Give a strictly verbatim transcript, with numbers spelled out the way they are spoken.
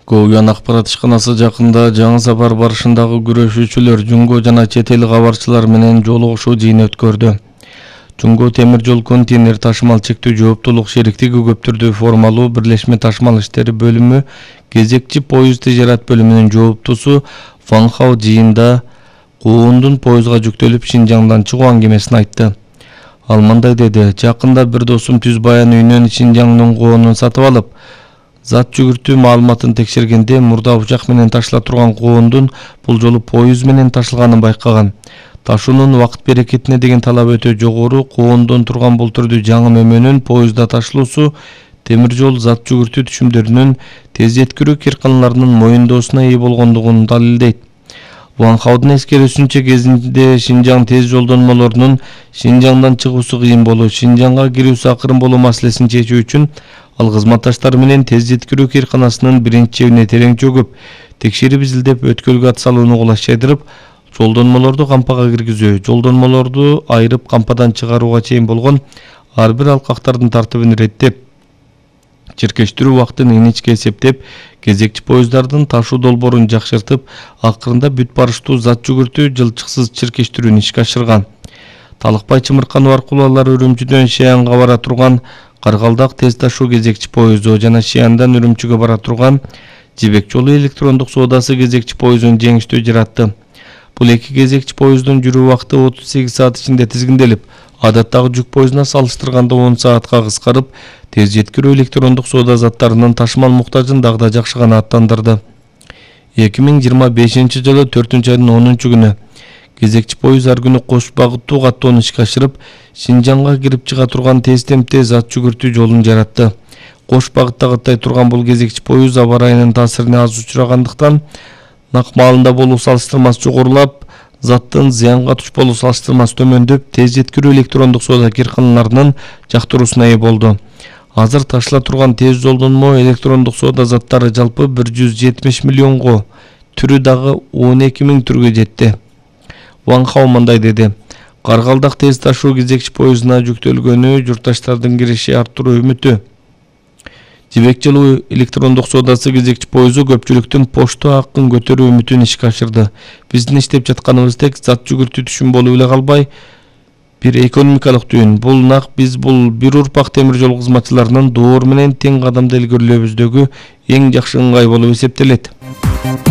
Go'yan axborot ишканасы жакында жаңы сапар барышындагы күрөшүүчүлөр Жумго жана чет эл кабарчылар менен жолугушуу жыйын өткөрдү. Жумго темир жол контейнер ташымал чектүү жооптулук шериктиги көп түрдүү формалуу бирлешме ташымал иштери бөлүмү кезекчи поезд тижарат бөлүмүнүн жооптусу Ван Хао жыйында куундун поездга жүктөлүп Шинжаңдан чыгуу аңгемесин айтты. Ал мындай деди: "Жакында бир досум түз баян үйүнөн Шинжаңдын коонун сатып алып, зат жүгүртүү маалыматын текшергенде мурда учак менен ташыла турган коондун бул жолу поезд менен ташылганын байкаган. Ташуунун убакыт берекетине деген талап өтө жогору, коондон турган бул түрдүү жаңы мөмөнүн поездда ташылуусу темир жол зат жүгүртүү түшүмдөрүнүн тез жеткирүү кирканаларынын моюндоосуна ээ болгондугун далилдейт." Ван Хаодун эскерүүсүнчө, кезинде Шинжаң тез жолдонмолорунун Шинжаңдан чыгуусу кыйын болуу, Шинжаңга кирүүсү акырын болуу маселесин чечүү үчүн ал кызматташтары менен тез жеткирүү кирканасынын биринчи чебине терең чөгүп, текшерип изилдеп, өткөлгө ат салууну кулаш жайдырып, жолдонмолорду кампага киргизүү, жолдонмолорду айырып кампадан чыгарууга чейин болгон ар бир алкактардын тартыбын иреттеп, чиркештирүү убактын инечке эсептеп, кезекчи поезддардын ташуу долбоорун жакшыртып, акырында бүт барыштуу зат жүгүртүү жылчыксыз чиркештирүүнү ишке ашырган. Талыкбай Чымырканов аркылуу алар Үрүмчүдөн Шиянга бара турган Каргалдак тез ташуу кезекчи поезду жана Шияндан Үрүмчүгө бара турган Жибек жолу электрондук соодасы кезекчи поездун жеңиштүү жаратты. Бул эки кезекчи поезддун жүрүү убакыты отуз сегиз саат ичинде тизгинделип, адаттагы жүк поездуна салыштырганда он саатка кыскарып, тез жеткирүү электрондук соода заттарынын ташымал муктажын дагы да жакшыгана аттандырды. эки миң жыйырма бешинчи жылы төртүнчү айдын онунчу күнү кезекчи поезд ар күнү кош багыттуу каттоону ишке ашырып, Шинжаңга кирип чыга турган тез темпте зат жүгүртүү жолун жаратты. Кош багытта каттай турган бул кезекчи поезд аба ырайынын таасирине аз учурагандыктан нак маалында болуу салыштырмасы жогорулап, заттын зыянга туш болуу салыштырмасы төмөндөп, тез жеткирүү электрондук соода кирканаларынын жактыруусуна ээ болду. Азыр ташыла турган тез жолдонмо электрондук соода заттары жалпы бир жүз жетимиш миллионго, түрү дагы он эки миң түргө жетти. Ван Хао мындай деди: "Каргалдак тез ташуу кезекчи поездуна жүктөлгөнү журтташтардын кириши арттыруу үмүтү. Жибек жолу электрондук соодасы кезекчи поезду көпчүлүктүн почто акын көтөрүү үмүтүн ишке ашырды. Биздин иштеп жатканыбыздек зат жүгүртүү түшүм болуп эле калбай, бир экономикалык түйүн. Бул нак биз бул бир урпак темир жол кызматчыларынын доор менен тең кадамда илгерилөөбүздөгү эң жакшы ыңгай болуп эсептелет."